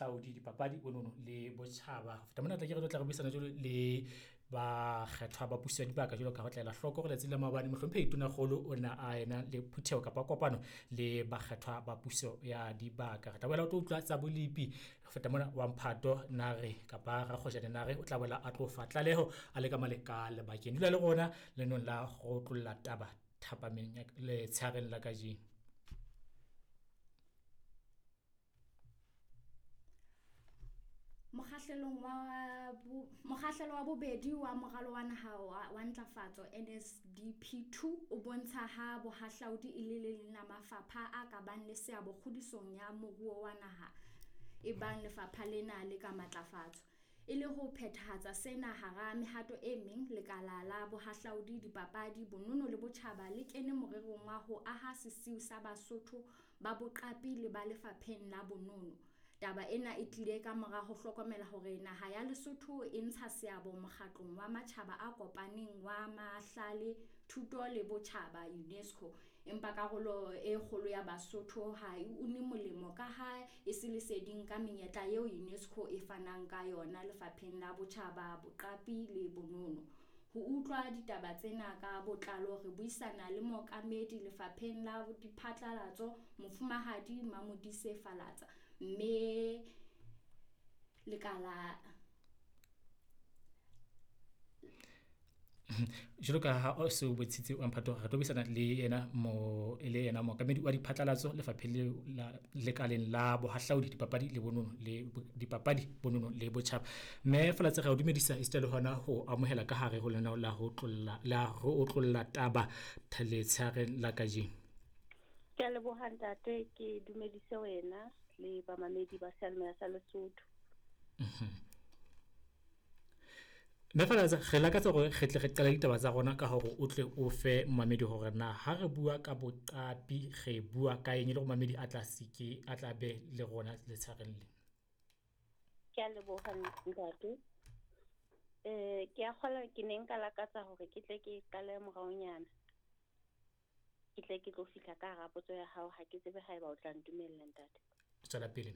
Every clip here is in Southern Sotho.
Bohahlaudi, Dipapadi, Bonono le Botjhaba. Ho feta mona tla ke re tlo tla re buisana jwalo le bakgethwa ba puso ya dibaka jwalo ka ho tla ela hloko hore letsatsi la maobane mohlomphehi Tonakgolo o ne a ena le phutheho kapa kopano le bakgethwa ba puso ya dibaka. Re tla boela o tlo utlwa tsa bolepi. Ho feta mona wa Mphato Nare kapa Rakgojane Nare o tla boela a tlo fa tlaleho a le ka male ka lebakeng. Dula le rona lenong la go tlolla taba thapameng ya letshehareng la kajeno. Mokgahlelong wa bo, mokgahlelo wa bobedi wa moralo wa naha wa, wa ntlafatso NSDP2 o bontsha ha bohahlaudi e le le leng la mafapha a ka bang le seabo kgodisong ya moruo wa naha ebang lefapha lena le ka matlafatswa. E le ho phethahatsa sena hara mehato e meng, lekala la bohahlaudi, dipapadi, bonono le botjhaba le kene morerong wa ho aha sesiu sa Basotho ba boqapi le ba lefapheng la bonono. Taba ena e tlile ka mora ho hlokomela hore naha ya Lesotho e ntsha seabo mokgatlong wa Matjhaba a Kopaneng wa Mahlale, Thuto le Botjhaba, UNESCO, empa karolo e kgolo ya Basotho ha e une molemo ka ha e se leseding ka menyetla eo UNESCO e fanang ka yona lefapheng la botjhaba, boqapi le bonono. Ho utlwa ditaba tsena ka botlalo re buisana le mookamedi lefapheng la diphatlalatso Mofumahadi Mamodise Falatsa mme lekala Jwalo ka ha o se o bontshitse wa Mphato, re tlo buisana le yena mo e le yena mookamedi wa diphatlalatso lefapheng leo la lekaleng la bohahlaudi, dipapadi le bonono le dipapadi, bonono le botjhaba. Mme Falatse re a o dumedisa esita le hona ho amohela ka hare ho lenaneo la ho tlolla la ho otlolla taba letshehareng la kajeno. Ke a leboha ntate, ke dumedise wena le bamamedi ba seyalemoya sa Lesotho. Mme Falatsa, re lakatsa hore re tle re qale ditaba tsa rona ka hore o tle o fe momamedi hore na ha re bua ka boqapi re bua ka eng e le hore momamedi a tla seke a tla be le rona letshehareng le. Ke a leboha ntate. Ke a kgolwa ke ne nka lakatsa hore ke tle ke qale moraonyana. Ke tle ke tlo fihla ka hara potso ya hao, ha ke tsebe haeba o tla ntumella ntate. Tswela pele.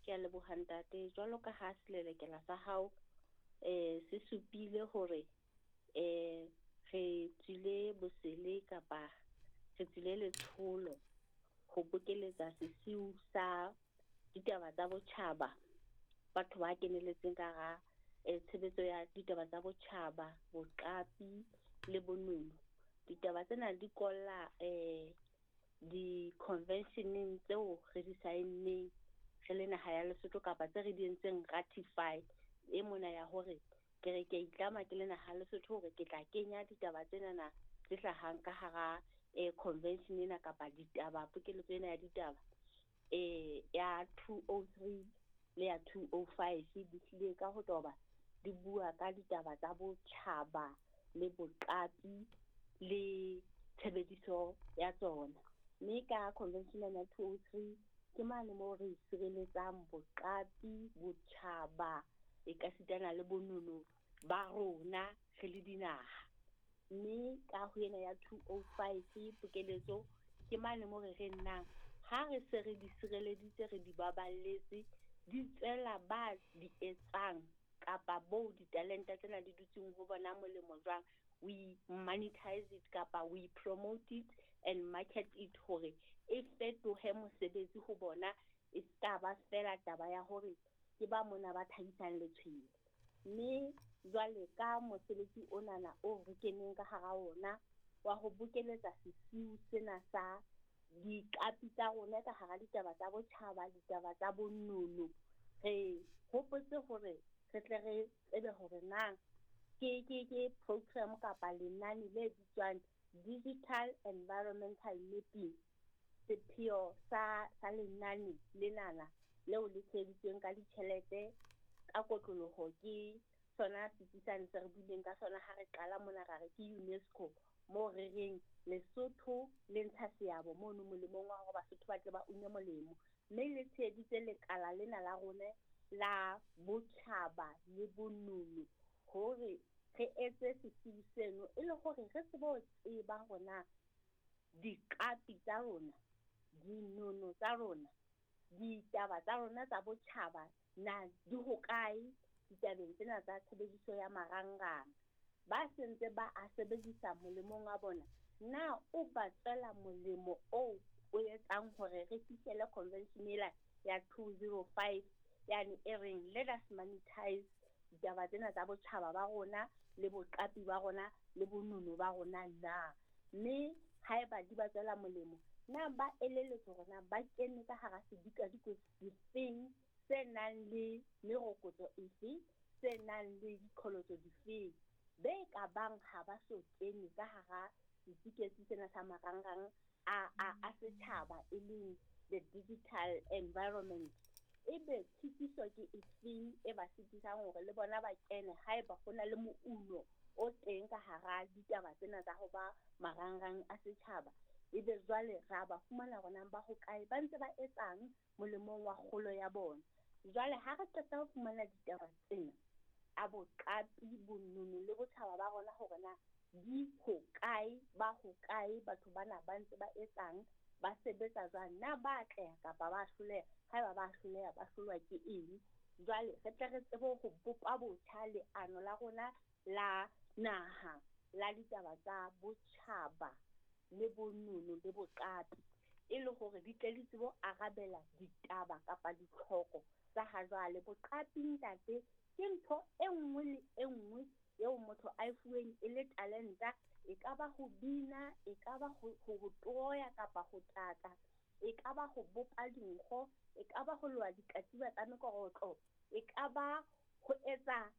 Ke a leboha ntate. Jwalo ka ha selelekela sa hao se supile hore re tswile bosele kapa re tswile letsholo ho bokeletsa sesiu sa ditaba tsa botjhaba, batho ba keneletseng ka hara tshebetso ya ditaba tsa botjhaba, boqapi le bonono. Ditaba tsena di kolla di-conventioneng tseo re di saenneng re le naha ya Lesotho kapa tse re di entseng ratify e mona ya hore ke re ke a itlama ke le naha ya Lesotho hore ke tla kenya ditaba tsenana tse hlahang ka hara convention ena kapa ditaba pokeletso ena ya ditaba ya 203 le ya 205 di hlile ka ho toba di bua ka ditaba tsa botjhaba le boqapi le tshebediso ya tsona. Mme ka convention ya 203 ke mane moo re sireletsang boqapi, botjhaba e ka sitana le bonono ba rona re le dinaha. Mme ka ho ena ya 205 pokeletso ke mane moo re reng nang ha re se re di sireleditse re di baballetse di tswela ba di etsang kapa bo ditalenta tsena di dutseng ho bona molemo jwang. We monetize it kapa we promote it and market it hore e fetohe mosebetsi ho bona, e ska ba fela taba ya hore ke ba mona ba thabisang letshwele. Mme jwale ka mosebetsi onana o re keneng ka hara ona wa ho bokeletsa sesiu sena sa diqapi tsa rona ka hara ditaba tsa botjhaba, ditaba tsa bonono, re hopotse hore re tle re tsebe hore na ke program kapa lenane le bitswang Digital Environmental Mapping. Sepheo sa lenane lenana leo le tsheheditsweng ka ditjhelete ka kotloloho ke sona setsi sane se re buileng ka sona ha re qala mona ra re ke UNESCO, moo re reng Lesotho le ntsha seabo mono molemong wa hore Basotho ba tle ba une molemo. Mme le tsheheditse lekala lena la rona la botjhaba le bonono hore re etse sesiu seno e le hore re tsebe ho tseba hore na diqapi tsa rona, dinono tsa rona Ditaba tsa rona tsa botjhaba na di hokae ditabeng tsena tsa tshebediso ya marangrang? Ba sentse ba a sebedisa molemong wa bona, na o ba tswela molemo oo o etsang hore re fihlele convention ela ya 205 yane e reng let us monetize ditaba tsena tsa botjhaba ba rona le boqapi ba rona le bonono ba rona na? Mme haeba di ba tswela molemo, na ba elelletswe hore na ba kene ka hara sedikadikwe sefeng se nang le merokotso efe, se nang le diqholotso difeng? Be ka bang ha ba so kene ka hara setsiketsi sena sa marangrang a setjhaba, e leng the digital environment. Ebe tshitiso ke efeng e ba sitisang hore le bona ba kene haeba ho na le mouno o teng ka hara ditaba tsena tsa ho ba marangrang a setjhaba? Ebe jwale ra ba fumana hore ba hokae, ba ntse ba etsang molemong wa kgolo ya bona. Jwale ha re qeta ho fumana ditaba tsena a boqapi, bonono le botjhaba ba rona hore na di hokae, ba hokae, batho bana ba ntse ba etsang, ba sebetsa jwang, na ba atleha kapa ba hloleha? Haeba ba hloleha, ba hlolwa ke eng? Jwale re tle re tsebe ho bopa botjha leano la rona la naha la ditaba tsa botjhaba le bonono le boqapi, e le hore di tle di tsebe ho arabela ditaba kapa ditlhoko tsa ha jwale. Boqapi, ntate, ke ntho e nngwe le e nngwe eo motho a e fuweng e le talenta. E ka ba ho bina, e ka ba ho toya kapa ho taka, e ka ba ho bopa dinkgo, e ka ba ho loha dikatiba tsa mekorotlo, e ka ba ho etsa